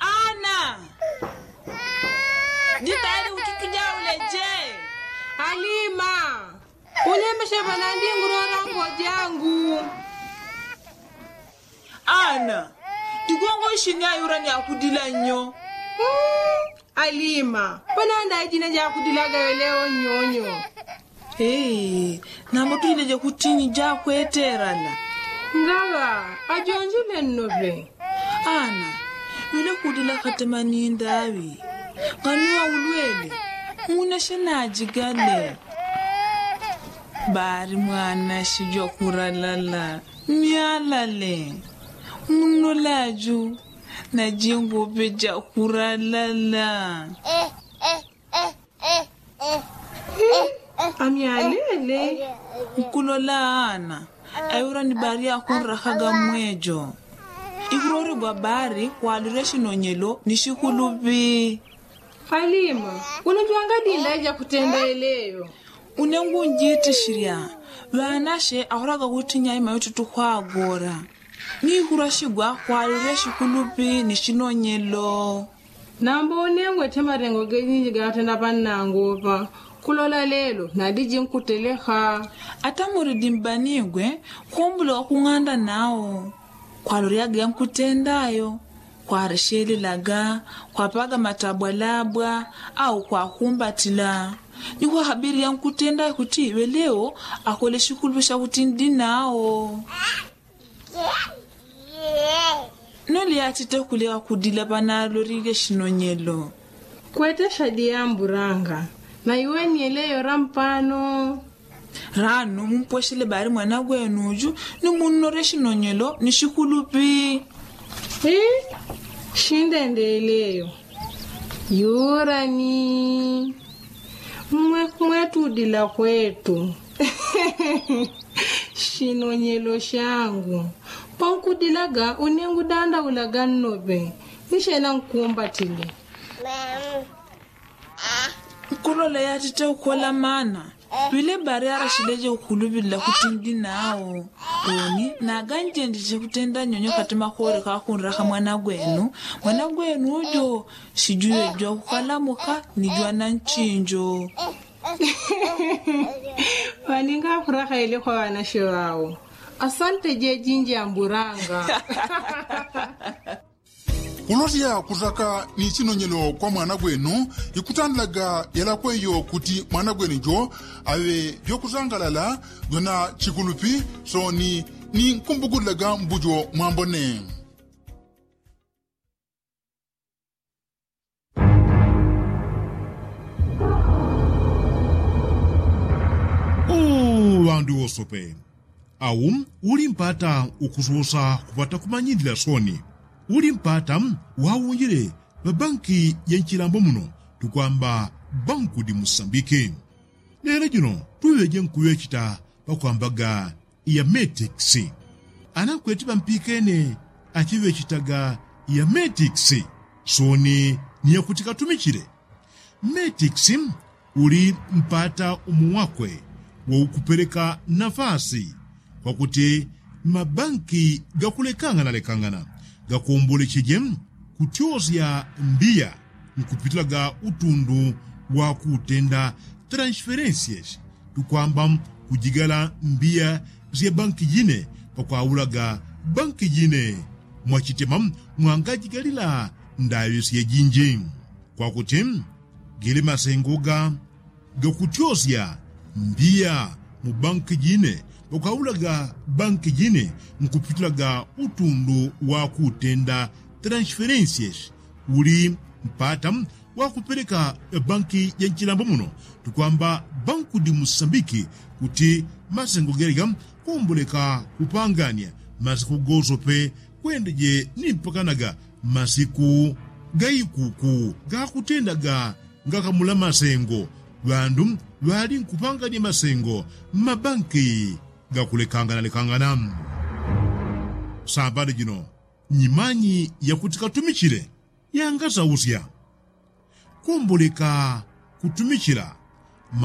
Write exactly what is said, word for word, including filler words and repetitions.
Ana, dibali ututuja uleje. Alima, ulemeshe pana ndingurora ngojangu. Ana, digongo ishini ayura ni akudila nyo. Alima, pana ndaijine jakudilaga yeleo nyonyo. Nambo tujileje kutinyi jakweterana. Ngawa ajonjile nnope. Ana, wile kudila katema ni ndawi. Nganuwa ulwele, muneshe najigale. Bari mwana shijwa kuralala. Myalale. Muno laju. Najingope jakuralala. Amyalele. Nkulola ana, ayura ni bari akunrakaga mwejo. Ikuroregwa bari kwalire shinonyelo ni shikulupi. Alima, uno jwangadinda jakutenda eleyo. Une ngunjitishirya. Ŵanashe akoraga kuti nyaima yotutu kwagora. Nikurashigwa kwalile shikulupi ni shinonyelo. Nambo une ngwete marengo gejinji gatenda panangopa. Kulola lelo nadiji nkuteleka. Ata muridi mbanigwe kumbula wakung'anda nao. Kwalolyaga yankutendayo, kwareshelelaga, kwapaga matabwalabwa, au kwakumbatila. Ni kwahabili yankutendayo kuti ŵeleo akole shikulupi shakuti ndi nao. Noli yatite kulewa kudila panalolile shinonyelo. Kwete shadi yamburanga. Na iwe ni eleyo rampano. Rano mumpweshele bari mwana gwenuju ni munnore shinonyelo ni shikulupi. Shindendeleyo. Yurani. Mwe mwetudila kwetu. Shinonyelo shangu. Pankudilaga une ngudandaulaga nnope. Nishena nkumbatile. Nkulola yatite ukola mana. Pile bari arashileje ukulupilila kuti ndi nao. Oni naganjenjeje kutenda nyonyo kati makore kakunraka mwana gwenu. Mwana gwenu ujo shijujejwa kukalamuka ni jwana nchinjo. Waninga akuraka ile kwa wanashe wao. Asante jejinji amburanga. Kulosya kusaka ni chinonyelo kwa mwana gwenu ikutandilaga yalakweyo kuti mwana gwenu jo aŵe vyokusangalala vyona chikulupi. Soni ni nkumbukulilaga mbujo mwambone. Ŵandu wosope au uli mpata ukusosa kupata kumanyilila soni. Uli mpata waunjile ŵabanki ya nchilambo muno tukwamba banku di musambiki. Lelo jino tuŵeje nkuŵechita pakwambaga ya metix. Anakweti ŵampikene achiŵechitaga ya metix. Soni ni yakuti katumichile metix uli mpata umu wakwe wa ukupeleka nafasi kwakuti mabanki gakulekanganalekangana gakombolecheje kutyosya mbiya nkupitilaga utundu wa kutenda transferensies tukwamba kujigala mbiya sya banki jine pakwaulaga banki jine mwachitema mwangajigalila ndaŵi syejinji. Kwakuti gili masengo ga gakutyosya mbiya mu banki jine pakwaulaga banki jine nkupitilaga utundu wa kutenda transferensies uli mpata wakupeleka banki ja nchilambo muno tukwamba banku di musambiki kuti masengo gelega komboleka kupangania masiku gosope kwendeje ni mpakanaga masiku gaikuku gakutendaga ngakamula masengo ŵandu ŵali nkupangania masengo mmabanki gakulekanganalekangana. Sambani jino nyimanyi yakuti katumichile yangasausya komboleka kutumichila